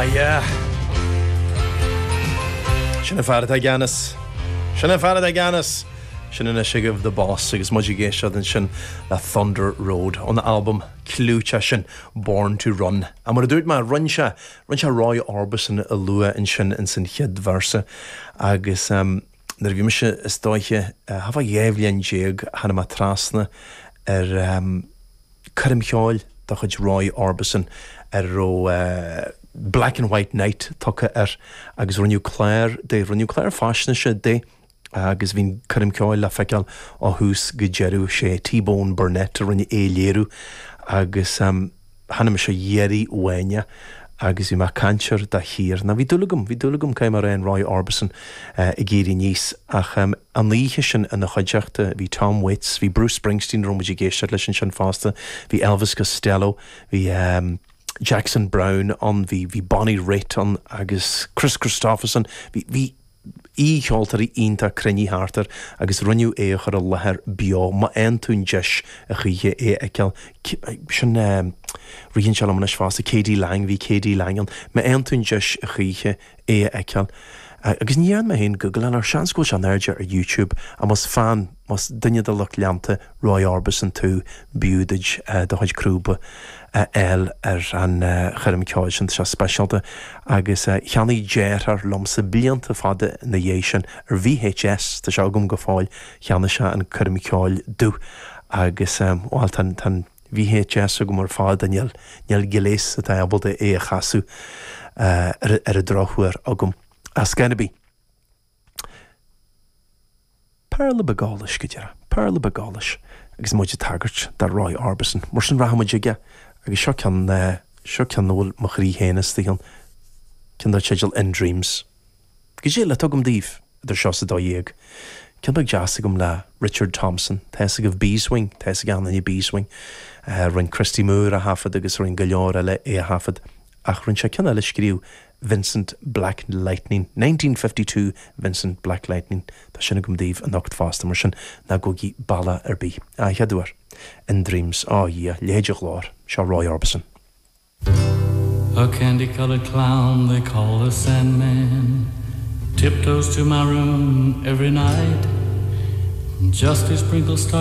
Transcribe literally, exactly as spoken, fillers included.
Ah, yeah. Sin an fear atá i gceannas. Sin an fear atá i gceannas. Sin anois agaibh The Boss agus muid ag éisteacht ansin le Thunder Road ón albam clúiteach sin Born to Run. A mar a dúirt mé rinne sé rinne sé Roy Orbison a lua ansin in san chéad véarsa agus um, nuair a bhí mise is dóiche uh, thart fá dhá bhliain déag tháinig mé trasna ar um, coirm cheoil de chuid Roy Orbison ar raibh uh, Black and White Night tugtha air agus rinneadh clár de rinneadh clár faisnéise de agus bhí coirm ceoil le feiceáil ó thús go deireadh sé T-Bone Burnett a rinne é léiriú agus um, tháinig mise dheiridh uaine agus bhí mé caint air de shíor. Na bhí dúil agam, bhí dúil agam céim ar an Roy Orbison uh, ag éirí aníos ach um, an oíche sin ina chuideachta bhí Tom Waits, bhí Bruce Springsteen raibh muid ag éisteacht leis ansin fosta, bhí Elvis Costello, bhí um, Jackson Browne ann bhí bhí Bonnie Raitt ann agus Kris Kristofferson bhí bhí aoicheoltóirí iontach cruinnithe thart air agus rinneadh é a chur i láthair beo má fhaigheann tú an deis a choíche é a fheiceáil sin ritheann sé liom anois fosta K.D. Lang bhí K.D. Lang ann má fhaigheann tú an deis a choíche é a fheiceáil. Agus ní dhearna mé féin Google ar seans go bhfuil sé in airde ar YouTube a más fan más duine de lucht leanta Roy Orbison tú b'fhiú duit do chuid crúba a fháil ar an choirm ceoil sin sé speisialta agus cheannaigh deartháir liomsa blianta fada ina dhiaidh sin ar VHS tá sé agam go fóill cheannaigh sé an coirm ceoil domh agus bhuel tá an VHS agam ar fad níl níl gléas atá ábalta é a chasadh ar ar an drochuair agam. As gan bí. Péarla beag allais go deireadh, Péarla beag allais agus muid ag tagairt do Roy Orbison, mar sin rachaimid aige agus seo ceann seo ceann a bhfuil mo chroí féin istigh ann ceann dar teideal In Dreams. Go dtí le tugam daoibh idir seo is a dó dhéag. Ceann beag deas agam le Richard Thompson, tá fhios agaibh Beeswing, tá fhios ag gach éinne Beeswing, uh, rinne Christy Moore a thaifead agus rinne go leor eile é a thaifead ach rinne sé ceann eile scríobh Vincent Black Lightning nineteen fifty two Vincent Black Lightning Tá sin agam daoibh anocht fosta mar sin ná gabhaigí bealach ar bith. A chéad uair In Dreams á dhia leithéid de ghlór seo Roy Orbison. A candy-colored clown they call the Sandman tiptoes to my room every night just to sprinkle stars